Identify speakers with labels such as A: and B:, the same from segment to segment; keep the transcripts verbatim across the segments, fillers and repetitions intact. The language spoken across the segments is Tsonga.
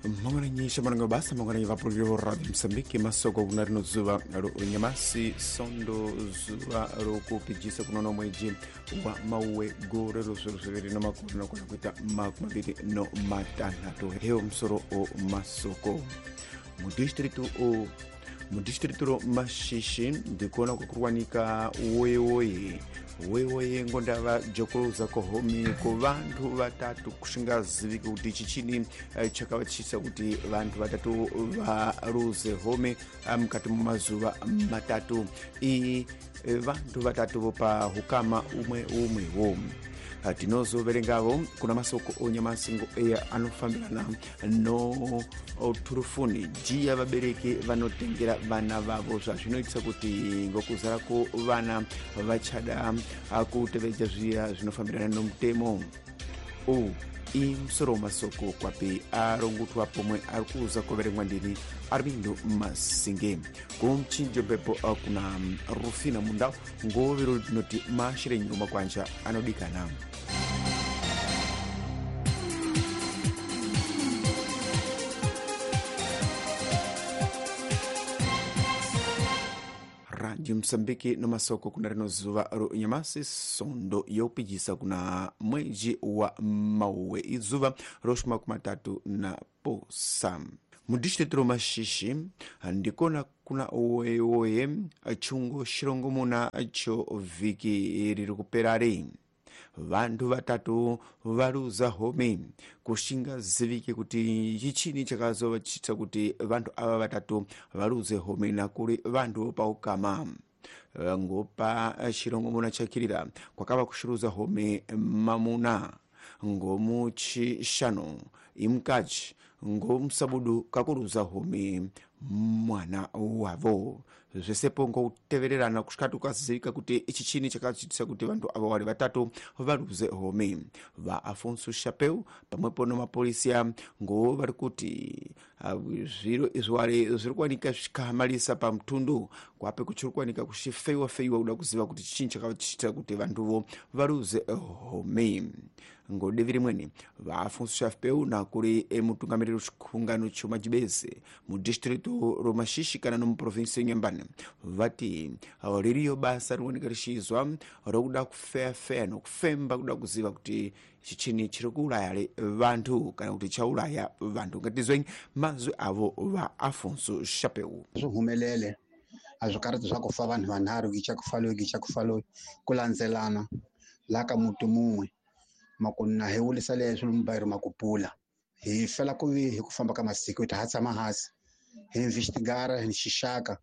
A: Mangwananyi shamananga basa mangwananyi vapurukiro Radio Msambiki masoko kuna rino zuva ro nyamasi sondo zuva rokupijisa kunono mwedzi wa mauwe gore rozviro zviviri namakumi nokona kuita makumi maviri no matanhatu. Hewo musoro o masoko mudistritu o mudistritu ro Mashishi ndikuona kukurwanika woyewoye woyewoye ngondava jokoloza kohomi ku vantu vatatu kusingaziviki kuti chichini chakavachisa kuti vantu vatatu varuze home mukati mumazuva matatu. Iyi vantu vatatu vopa hukama umwe umwewo. Tinozoverengavo kuna masoko onyamasingo eya anofambirana no turufuni jiya vabereki vanotengera vana vavo zvazvinoitisa kuti ngokuzara ko vana vachada kutevedza zviya zvinofambirana nomutemo. O imusoro masoko kwapi arongutwa pomwe ari kuuza kuverengwa ndini Armindo Masinge. Kumchinjo bepo kuna Rufina Mundau ngoviro tinoti mashire nyuma kwanja anodikana. Radio Msambiki no masoko kuna rino zuva ro nyamasi sondo yopijisa kuna mwedzi wa mauwe izuva roshuma kumatatu na posa. Mudistritu Mashishi ndikona kuna oyeoye chungo shirongo muna cho vhiki riri kuperari. Vantu vatatu varuza home kusingazivike kuti chichini chakazovachitsa kuti vantu ava vatatu varuze home nakuri vantu paukama. Ngopa chirongo muna chakirira kwakava kushuruza home mamuna ngomuchishanu imukachi ngomusabudu kakuruza home mwana wavo. Zvesepo ngokutevererana kusvika tukazivika kuti ichi chini chakachitisa kuti vantu ava vari vatatu varuze home. Va Afonso Chapeu pamwepo nemapolisiya ngo vari kuti zviro izvi zviri kuwanika zvikahamalisa pamutundu kwape kuchiri kuwanika kuchifeiwa feiwa kuda kuziva kuti chini chakachiitira kuti vantuvo varuze home. Ngodivi rimweni va Afonso Chapeu nakuri emutungamiriri wechikungano chomajibeze mudistritu roMashishi kana nomuprovinsi yeNyambani vati ririyo basa rinooneka richizwa rokuda kufeyafeya nokufemba kuda kuziva kuti chichini chiri kuuraya vantu kana kuti chauraya vantu. Ngatizweni mazwi avo va Afonso Chapeu.
B: Zwi humelele a swi karhi swa ku fa vanhu vanharhu gicha ku fa loyi gicha ku fa loyi ku landzelana la ka muti mun'we makuna hi wulisa leswi lumbayiro makupula hi fela ku vi hi ku famba ka masiku hi ta ha tshama hansi hi investigara hi xixaka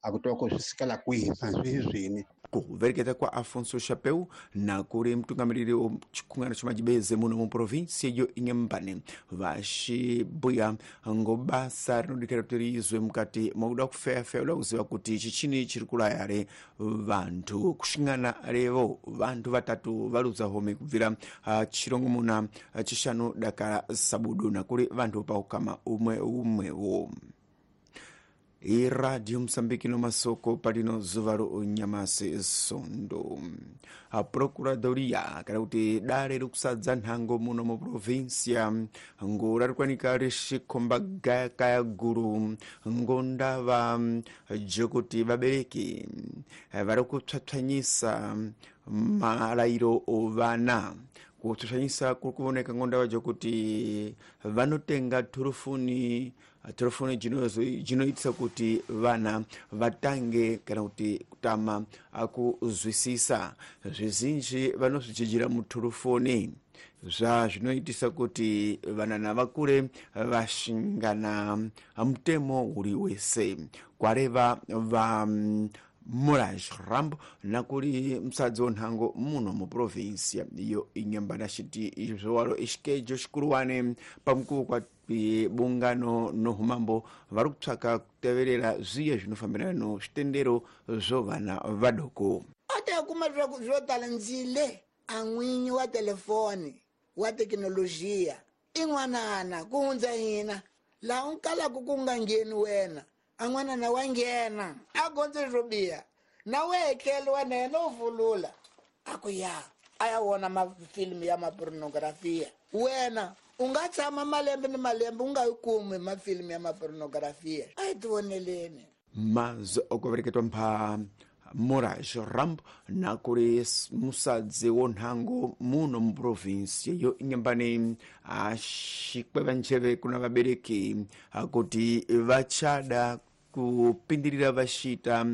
B: a ku twa ku swi sukela kwihi swi swini.
A: Kuvereketa kwa Afonso Chapeu na kuri mutungamiriri wechikungano chemajibeze muno muprovinsi yo Inhambane vachibuya ngobasa rinodikira kuti riizwe mukati mwakuda kufeyafeya kuda kuziva kuti chichini chiri kulayare vantu kushingana revo vantu vatatu varuza home kubvira uh, chirongomuna uh, chishanu dakara sabudu na kuri vantu paukama umwe umwewo. iRadio Msambiki no masoko palino zuva ro nyamasi sondo. A Procuradoria kana kuti dare rikusadza nhango muno muprovinsia ngo rarikwanika richikhomba gayakaya guru ngondava jekuti vabereki vari kutsvatsvanyisa marayiro ovana. Kutsvatsvanyisa kuri kuoneka ngondava jekuti vanotenga turufuni telefoni jinoitisa kuti vana vatange kana kuti kutama kuzwisisa zvizinji vanozvidzidzira mutelefoni zva zvinoitisa kuti vanana vakure vashingana mutemo uri wese. Kwareva va Muraj Rambo nakuri musadzi wonhango muno muprovinsia iyo Inhambane chiti izvowaro ishikejo xikuruwane pamukuwo kwa bungano nohumambo vari kutsvaka kuteverera zviye zvinofambirana no zvitendero zvovana vadoko.
C: Ata kuma zvo tala ndzile a n'winyi wa telefoni wa thekinolojiya i n'wanana ku hundza hina laha u kalaka ku nga ngheni wena a n'wanana wa nghena a gondze swo biha na wehe tlhelo wa na yena u vulula a ku ya a ya vona mafilimu ya mapornografia wena U nga tshama malembe ni malembe u nga yi kumi mafilimi ya mapornografia. A hi tivoneleni.
A: Mazwi okuvereketwa mpha Moraes Rambo na kuri musadzi wo nhango muno mu province yo Inhambane axikweva njeve kuna vabereki kuti vachada kupindirira vashita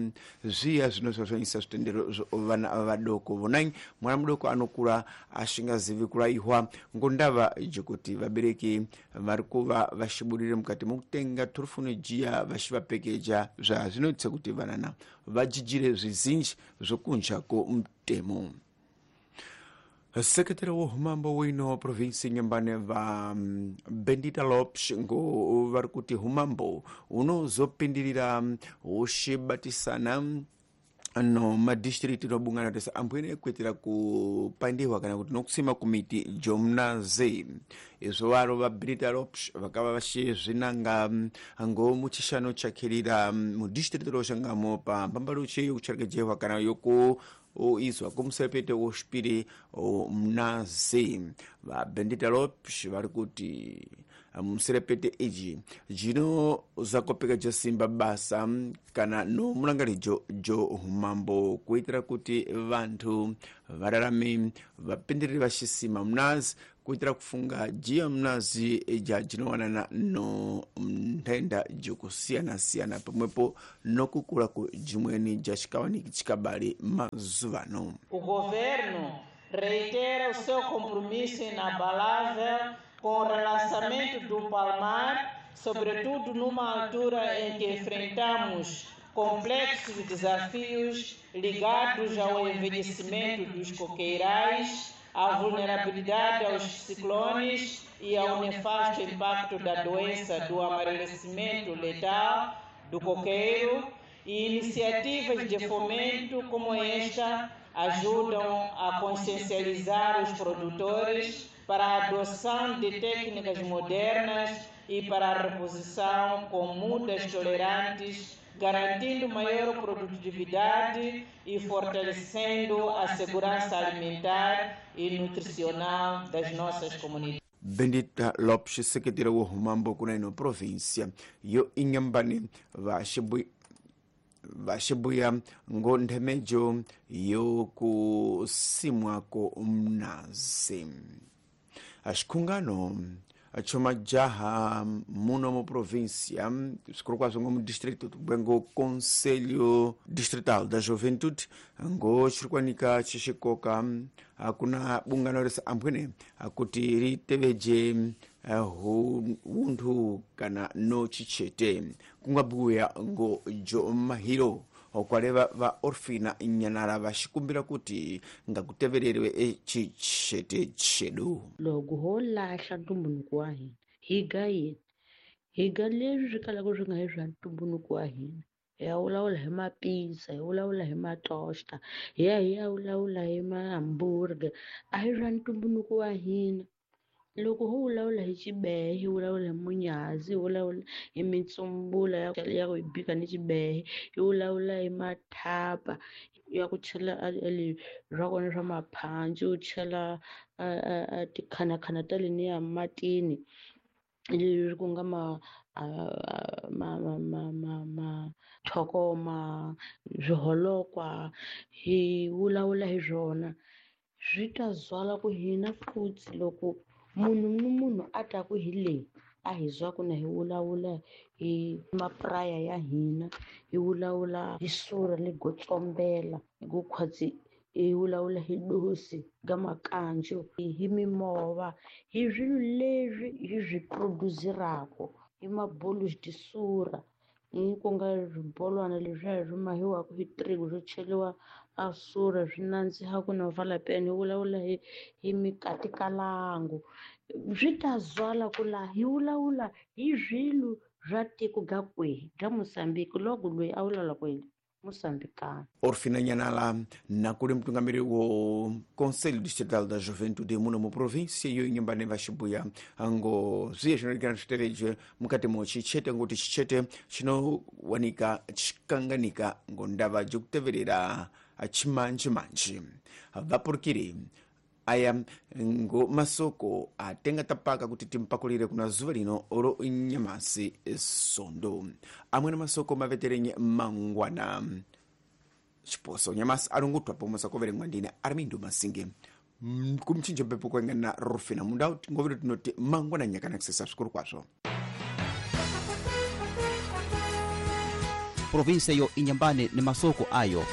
A: zviya zvinosvasvanyisa zvitendero vana vadoko. Vonai mwana mudoko anokura ashingazivi kuraihwa ngondava jekuti vabereki vari kuva vashiburire mukati mokutenga torofoni jiya vashivapekeja zvazvinoitisa kuti vanana vajijire zvizinji zvokunja komutemo. Sekretari wo humambo wino provinsi Inhambane va Bendita Lopes ngo vari kuti humambo unozopindirira ushibatisana no madistrict nobungana tese ambwene kuitira kupandihwa kana kuti nokusima kumiti jomnaze. Izvo varo va Benita Lopes vakava vachizvinanga ngo muchishano chakirira mudistrict roshangamo pa mbambaluche yokucharekejehwa kana yoku oizwa kumusepete woxipiri mnazi. Va Bendita Lopes vari kuti muserepete iji jino zakopeka simba basa kana no mulangarijo jo humambo kuitira kuti vanthu vararame vapindirire vaxisima mnazi kuitira kufunga jiya mnazi ja jinowanana no nthenda jikusiyana-siyana pamwepo nokukula ku jimweni ja xikawaniki chikabali mazuvano.
D: O governo reitera o seu compromisso inabalável com o relançamento do Palmar, sobretudo numa altura em que enfrentamos complexos desafios ligados ao envelhecimento dos coqueirais, à vulnerabilidade aos ciclones e ao nefasto impacto da doença do amarelecimento letal do coqueiro, e iniciativas de fomento como esta ajudam a consciencializar os produtores para a adoção de técnicas modernas e para a reposição com mudas tolerantes, garantindo maior produtividade e fortalecendo a segurança alimentar e nutricional das nossas comunidades.
A: Bendita Lopes, secretária wo humambo kuna ino província yo Inhambane vaxibuya ngo nthemejo yo kusimwako mnazi. Axikhungano chomajaha muno mu província svikuru kwazvo ngo mudistrito ngo Conselho Distrital da Juventude ngo chirikwanika chixikoka kuna bungano rese ambwene kuti riteveje hunthu kana no chichete kungabuya ngo jo mahiro okwaleva va Orfina Nyanara vaxikumbira kuti ngakutevereriwe echichete chedu.
E: Loko ho lahla ntumbuluko wa hina hi ga yini hi ga leswi swi kalaka swi nga hi swa ntumbuluko wa hina, hi ya vulavula hi mapizza, hi vulavula hi matosta, hi ya hi ya vulavula hi mahamburger, a hi swa ntumbuluko wa hina. Loko ho vulavula hi xibehe, hi vulavula hi munyazi, hi vulavula hi mitsumbula ya ya ku bika ni xibehe, hi vulavula hi mathapa ya ku chela swa kona swa maphanci, u chela tikhanakhana ta leniya matini leswi ku nga ma ma ma ma ma mathokoma, swiholokwa, hi vulavula hi swona swi ta zwala ku hina futhi loko munhu ni munhu a ta ku hi leyi a hi zwa ku na hi vulavula hi mapuraya ya hina, hi vulavula hi sura le gotsombela hi ku khwatsi, hi vulavula hi dosi ga makanjo, hi mimova, hi swilo leswi hi swi produce-raka, hi mabolo tisura ku nga swibolwana leswiya swi mahiwaka hi tiriku swo cheriwa a sura swi nandziha ku na valapeni, hi vulavula hi hi mikatikalangu swi ta zwala ku laha hi vulavula hi swilo swa tiko ga kwihi ga Mozambique loko loyi a vulavula ku yini Moçambicano.
A: Orfina Nyanala nakuli mtungamiri wo Conselho Distrital da Juventude muno mu província yo Inhambane vaxibuya ngo zviye zvinorekana zviterejwe mukati mo chichete ngoti chichete chinowanika chikanganika ngo ndava jekuteverera chimanjimanji. Vapurukiri Aya ngo masoko atenga tapaka kuti timpakulire kuna zuva lino olo nyamasi sondo. Amwene masoko maveterenye mangwana chiposo nyamasi alungutwa pomwe sakoverengwa ndine Armindo Masinge kumchinja mpepo kwengana Rufina mundau tingovero tinoti mangwana nyakana kusesa svikuru kwazvo.
F: Provinsia yo Inyambane ni masoko ayo.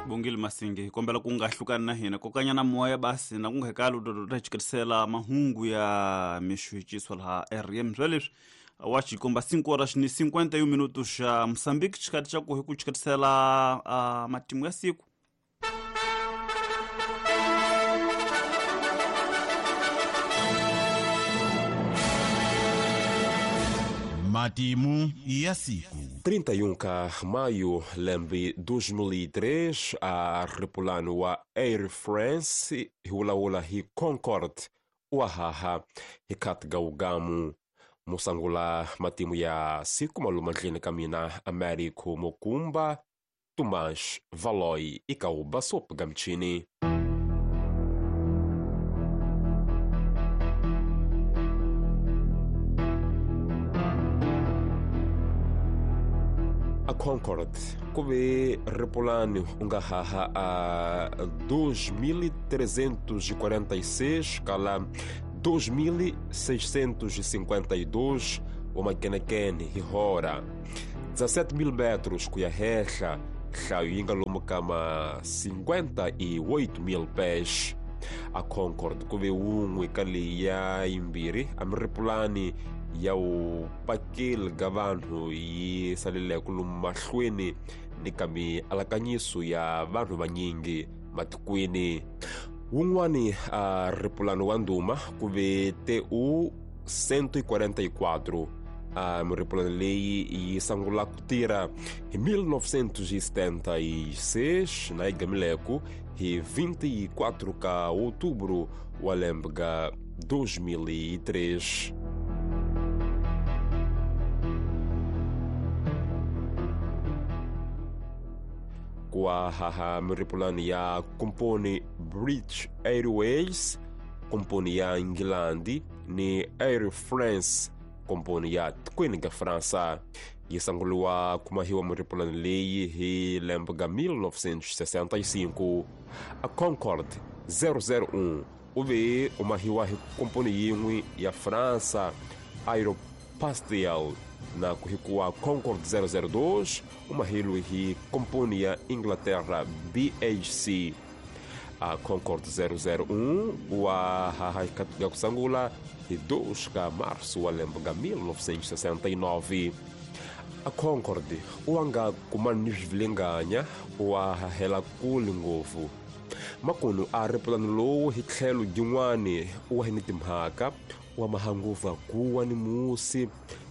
G: Bongile Masinge kombela ku nga hlukani na hina kokanyana moya basi na ku nga hekalo do ta chikerisela mahungu ya mixuchiso laha R M swa leswi wa xikomba cinco horas ni cinquenta e um minutos xa Moçambique xikati xa ku hi ku chikerisela uh, matimu ya siku.
H: Matimu ya siku.
I: trinta e um ka maio lembe dois mil e três a repulano wa Air France hiulawula hi Concorde wahaha hikatga ugamu musangula matimu ya siku malumandleni kamina Américo Mokumba Tomás Valoi ikauba sopga mchini. A Concorde kuve repulani ungahaha a dois mil trezentos e quarenta e seis kala dois mil seiscentos e cinquenta e dois omakenekene hihora dezessete mil metros kuya hehla hlayo yinga lomu kama cinquenta e oito mil pés. A Concorde kuve wun'we ka leyi ya yimbirhi amiripulani ya wu pakeli ka vanhu yi saleleke lomu mahlweni ni ka mialakanyiso ya vanhu vanyingi matikweni. Wun'wani a ripulano wa ndhuma ku ve T U cento e quarenta e quatro. A miripulano leyi yi sungula ku tirha hi mil novecentos e setenta e seis na yi gamileku hi vinte e quatro ka outubro wa lembe ga dois mil e três. Kwa haha miripulani ya komponi British Airways, komponi ya England ni Air France, komponi ya tikweni ga Fransa. Yi sanguliwa kumahiwa miripulani leyi hi lembe ga mil novecentos e sessenta e cinco. A Concorde zero zero um u ve umahiwa hi komponi yin'we ya Fransa Aeropastel na kuhikuwa Concorde zero zero dois umahilwe hi komponi ya Inglaterra B H C. A Concorde zero zero um wa hahaikatuga kusangula hi dois ka março wa lembe ga mil novecentos e sessenta e nove. A Concorde uanga kumani ni swivilinganya wa hahela kule ngopfu. Makunu a ripulani lowu hi tlhelo jin'wani wa hi ni timhaka wa mahanguva kuwa ni musi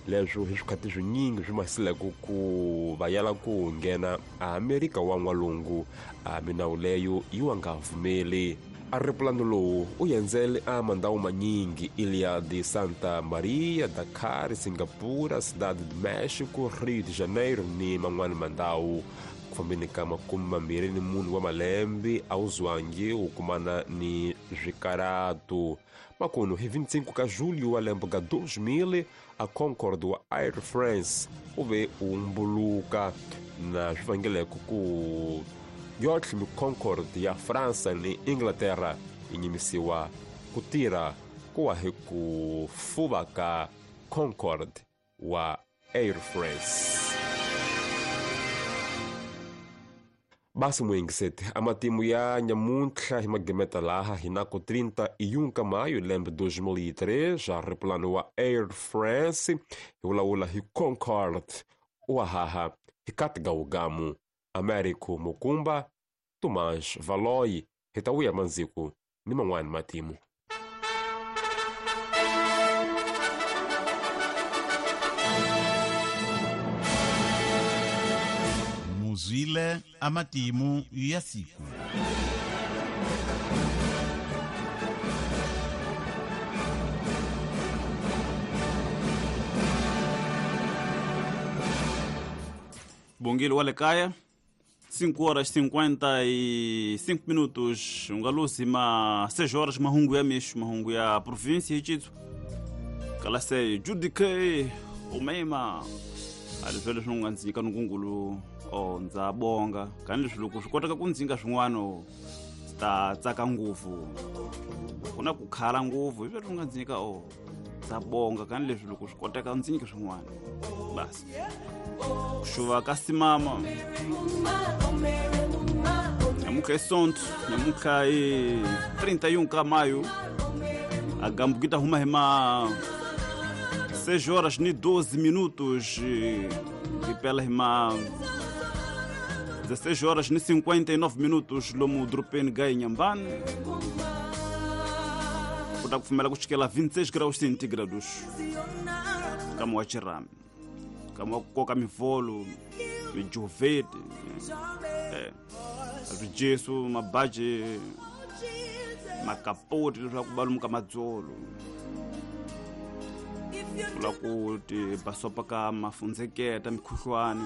I: leswo hi swikhati swinyingi swi masileke ku va yala ku nghena a Amerika wa n'walungu a minawu leyo yi wa nga pfumeli. A ripulano lowu u yendzele a mandhawu manyingi Ilha de Santa Maria, Dakar, Singapura, Cidade de México, Rio de Janeiro ni man'wani mandhawu. Ku fambeni ka makume mambirhi ni mune wa malembe a wu zwangi wu kumana ni swikaratu. Makunu hi vinte e cinco ka julho wa lembe ga dois mil a Concorde wa Air France u ve u mbuluka na swi vangeleke ku yotlhe mi Concorde ya Fransa ni Inglaterra yi nyimisiwa ku tirha ku wa hi ku fuva ka Concorde wa Air France. Basi muingiseti a matimu ya nyamuntlha hi magemeta laha hi nako trinta e um ka maio lembe dois mil e três a ripulano wa Air France hi vulavula hi Concorde wa haha hi katga ugamu Américo Mukumba Tomás Valoi hi ta wuya mandziku ni man'wani matimu.
H: Muzwile amatimu ya siku.
G: Bongile wa le kaya? cinco horas cinquenta e cinco minutos, ungaluzi ma seis horas mahungu ya mixo, mahungu ya província e tito. Kala sei Judique umema alivele swinga ndzika nungungulu o ndza bonga kani leswi loko swi koteka ku ndzinga swin'wana ta tsaka ngopfu ku na ku khala ngopfu hi leswi nga ndzika o ndza bonga kani leswi loko swi koteka ndzi nyike swin'wana basi ku xuva ka simama nyamuka esonto nyamuka e trinta e um ka maio a gambukita huma hima seis horas e doze minutos e pela hima dezesseis horas e cinquenta e nove minutos lomu dropen gai Inhambane kuta kufumela kuchikela vinte e seis graus centígrados kama wa chirame kama wa kukoka mivolo mijovete eh swijesu mabaje makapoti leswaku balumuka madzolo kula ku ti basopa ka mafundzeketa mikhuhlwani.